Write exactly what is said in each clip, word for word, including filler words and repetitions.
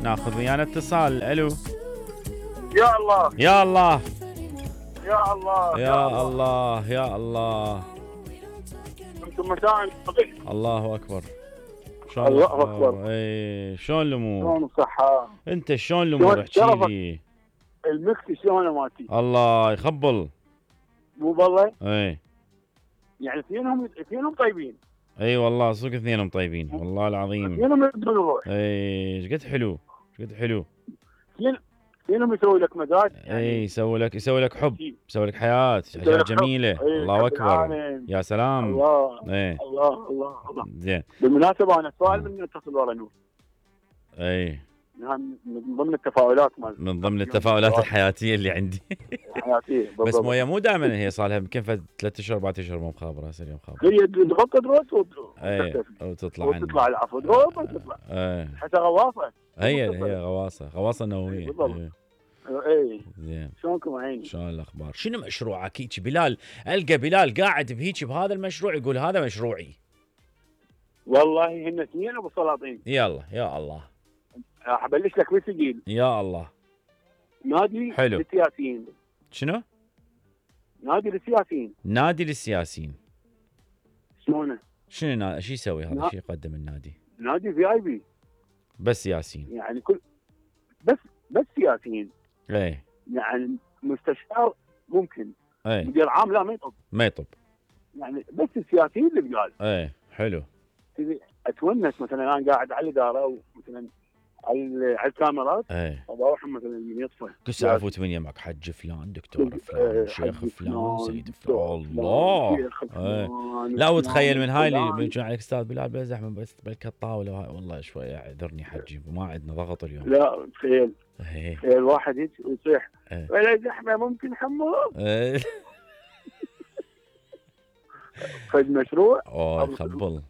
ناخذ ويانا اتصال. الو. يا الله يا الله يا الله يا الله يا الله. انتم مساء الله اكبر. شلون الله اكبر. اي شلون الامور؟ شلون الصحة؟ انت شلون الامور؟ احكي لي. المكس شلونه مالتي؟ الله يخبل. مو بالله؟ اي يعني اثنينهم اثنينهم طيبين. اي والله صدق اثنينهم طيبين والله العظيم. اثنينهم يدون الروح. اي ايش قد حلو ايش قد حلو. اثنينهم يسوي لك مزاج. يعني اي يسوي لك يسوي لك حب يسوي لك حياة اشياء جميلة. أيه. الله اكبر. يا سلام. الله ايه. الله الله الله. زين. بالمناسبة انا سؤال من اتصل ورا نور. اي من ضمن التفاؤلات مال من ضمن التفاؤلات الحياتيه اللي عندي. حياتيه بس مويه مو دائما هي صار لها يمكن ثلاث اشهر اربع اشهر مو مخابره هسه اليوم خابره. هي تغطي دروس اي وتطلع وتطلع العفو دروس وتطلع. اي حتى غواصه. هي هي غواصه غواصه نوويه. بالضبط. اي زين. شلونكم عيني؟ شلون الاخبار؟ شنو مشروعك هيك بلال؟ القى بلال قاعد بهيك بهذا المشروع يقول هذا مشروعي. والله هن اثنين ابو سلاطين. يلا يا الله. راح ابلش لك بالثقيل. يا الله. نادي حلو. للسياسيين. شنو؟ نادي للسياسيين. نادي للسياسيين. شلونه؟ شنو نا... شو يسوي هذا؟ نا... شو يقدم النادي؟ نادي في اي بي. بس سياسيين. يعني كل بس بس سياسيين. ايه. يعني مستشار ممكن. ايه. مدير عام لا ما يطب. ما يطب. يعني بس السياسيين اللي بقال. ايه حلو. اتونس مثلا انا قاعد على الاداره ومثلا على على الكاميرات. ايه. اروح مثلا من يطفى. كل ساعه افوت من يمك حج فلان دكتور فلان شيخ فلان سيد فلان الله. ايه. لا وتخيل من هاي اللي بيجون عليك استاذ بلال بلا زحمه بس بلك الطاوله والله شوي اعذرني حجي ما عندنا ضغط اليوم. لا تخيل. ايه. تخيل واحد هيك ويصيح ايه. ولا زحمه ممكن حمو. ايه. فد مشروع. اوه خبل.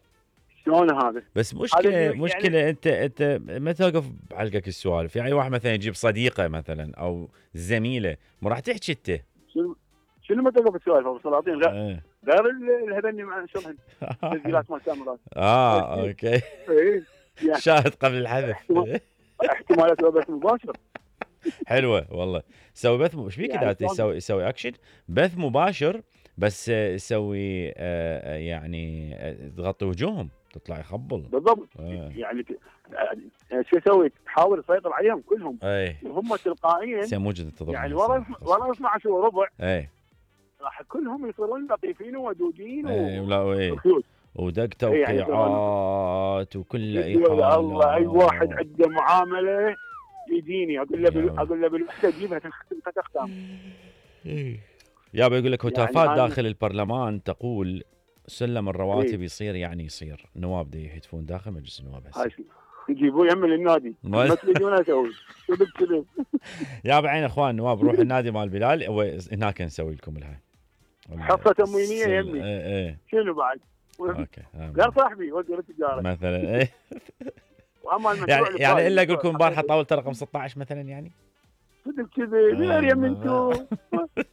شلون هذا؟ بس مشكله يعني مشكله انت انت ما توقف بعلقك السوالف. يعني واحد مثلا يجيب صديقه مثلا او زميله مو راح تحكي انت. شنو شنو ما توقف السوالف ابو سلاطين غير ايه. غير الهبني مع شلون تسجيلات مال كاميرات. اه اوكي. ايه يعني شاهد قبل الحذف. احتمالات بث مباشر. حلوه والله. سوي بث ايش بيك اذا يسوي يسوي اكشن بث مباشر بس يسوي آه يعني تغطي وجوههم تطلع يخبل. بالضبط. آه. يعني شو يسوي؟ تحاول تسيطر عليهم كلهم. اي. وهم تلقائيا سي موجود التضرب يعني ورا ورا اثنعش وربع. اي. راح كلهم يصيرون لطيفين وودودين. اي ولا ودق توقيعات وكل اي حاله. الله اي واحد عنده معامله يديني اقول له بال... اقول له بالوحده تجيبها تختم. يابا يقول لك هتافات يعني داخل البرلمان تقول سلم الرواتب يصير يعني يصير. النواب دي يهتفون داخل مجلس النواب هسه يجيبوه يمل النادي ما تريدون اسوي كذب كذب. يابا عين اخوان النواب روحوا النادي مال بلال هناك نسوي لكم الهاي حصه تموينيه يمي. ايه ايه. شنو بعد؟ اوكي غير صاحبي ودي التجاره مثلا. ايه. واما يعني يعني الا اقول لكم البارحه طاوله رقم ستة عشر مثلا يعني صدق كذا غير يم انتو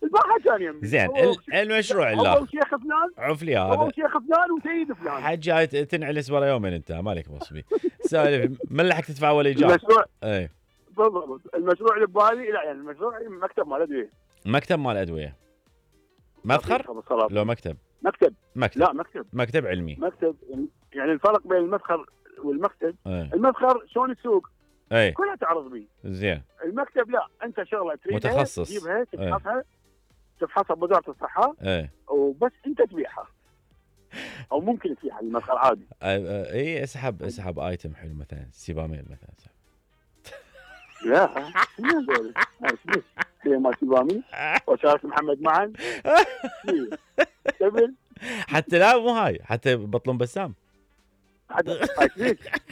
البارحه كان يم. زين المشروع اللي اول شيخ فلان عفلي هذا اول شيخ فلان وسيد فلان حج جاي تنعلس ورا يومين انت مالك مصبي سالف من لحق تدفع ولا ايجار. المشروع اي بالضبط. المشروع اللي ببالي لا يعني المشروع مكتب مال ادويه. مكتب مال ادويه مدخر لو مكتب مكتب مكتب لا مكتب مكتب علمي. مكتب يعني الفرق بين المدخر والمكتب. أي. المدخر شلون السوق اي كلها تعرض بيه. زين. المكتب لا انت شغله تريدها متخصص تجيبها تفحصها تفحصها بوزاره الصحه. اي وبس انت تبيعها او ممكن تبيعها المدخر عادي. اي اسحب اسحب ايتم حلو مثلا سيباميل مثلا. لا شنو هذول؟ هي ما سيبامي وشارك محمد معا قبل حتى لا مو هاي حتى بطلون بسام حتى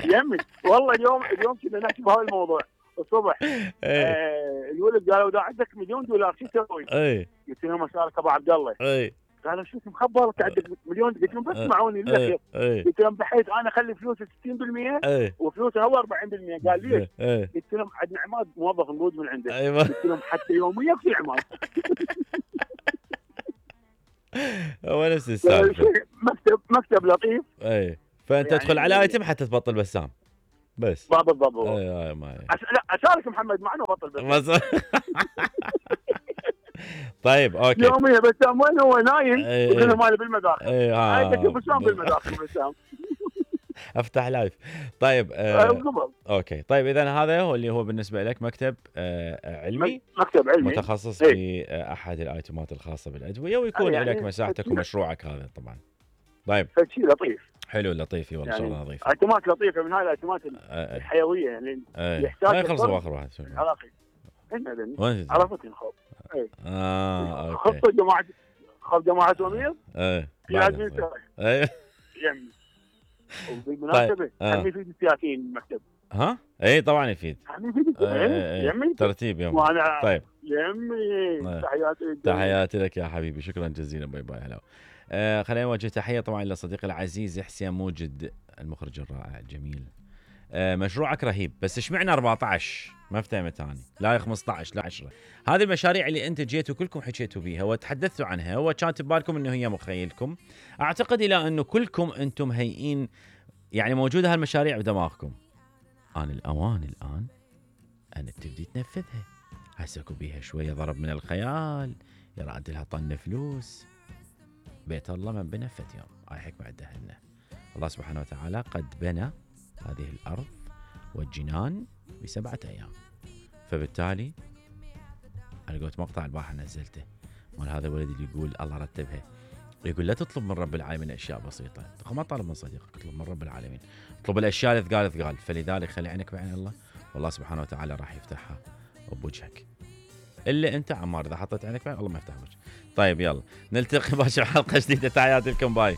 يمي والله اليوم اليوم كنا نحكي بهذا الموضوع الصبح. آه الولد قالوا اذا عندك مليون دولار شو تسوي؟ اي قلت لهم اشارك ابو عبد الله. اي قالوا شو مخبرك عندك مليون؟ قلت لهم بس اسمعوني لله خير. قلت لهم بحيث انا اخلي فلوسي ستين بالمئة وفلوسه هو أربعين بالمئة. قال ليش؟ قلت لهم عندنا عماد موظف موجود من عنده. قلت لهم حتى يوميا في عماد. هو نفس السالفه. مكتب مكتب لطيف. اي فانت يعني تدخل على ايتم حتى تبطل بسام. بس بالضبط. اي اي ما أس... لا اشارك محمد معنا وبطل بس طيب اوكي. يوميا بسام وين هو نايم يقول له مالي بالمداخل. اي هاي بسام بالمداخل بسام. افتح لايف. طيب آه اوكي. طيب اذا هذا هو اللي هو بالنسبه لك مكتب آه علمي، مكتب علمي متخصص في آه احد الايتمات الخاصه بالادويه، ويكون يعني لك مساحتك ومشروعك هذا طبعا. طيب شيء لطيف، حلو لطيف والله يعني شغله نظيفه. ايتمات لطيفه من هاي الايتمات آه الحيويه يعني آه يحتاج يخلص اخر واحد عراقي. عرفتني خب اي اه اوكي. خطه جماعه خب جماعه ومير ايه في لازم ايه يمي. وبالمناسبه هم يفيد السياسيين المكتب. ها اي طبعا يفيد. هم يفيد يمي ترتيب يوم. وانا طيب يمي تحياتي تحياتي لك يا حبيبي، شكرا جزيلا. باي باي. هلا آه خلينا نوجه تحيه طبعا لصديقي العزيز حسين موجد المخرج الرائع الجميل. آه مشروعك رهيب، بس اشمعنى أربعة عشر ما افتهمت ثاني، لا خمسة عشر لا عشرة. هذه المشاريع اللي انت جيتوا كلكم حكيتوا بيها وتحدثتوا عنها وكانت ببالكم انه هي مخيلكم، اعتقد الى انه كلكم انتم هيئين يعني موجوده هالمشاريع بدماغكم. آن الأوان الآن أن تبدي تنفذها. حسكوا بيها شوية ضرب من الخيال، يراد لها طن فلوس. بيت الله من بنى فت يوم، هاي حكمة عدهن. الله سبحانه وتعالى قد بنى هذه الأرض والجنان بسبعة أيام، فبالتالي أنا قلت مقطع البارحة نزلته مال هذا الولد اللي يقول الله رتبها، يقول لا تطلب من رب العالمين أشياء بسيطة. ما طالب من صديقك، اطلب من رب العالمين، اطلب الأشياء اللي ثقال ثقال. فلذلك خلي عينك بعين الله، والله سبحانه وتعالى راح يفتحها بوجهك. إلا أنت عمار إذا حطيت عينك بعين الله ما يفتح وجهك. طيب يلا نلتقي باكر حلقة جديدة، تحياتي لكم، باي.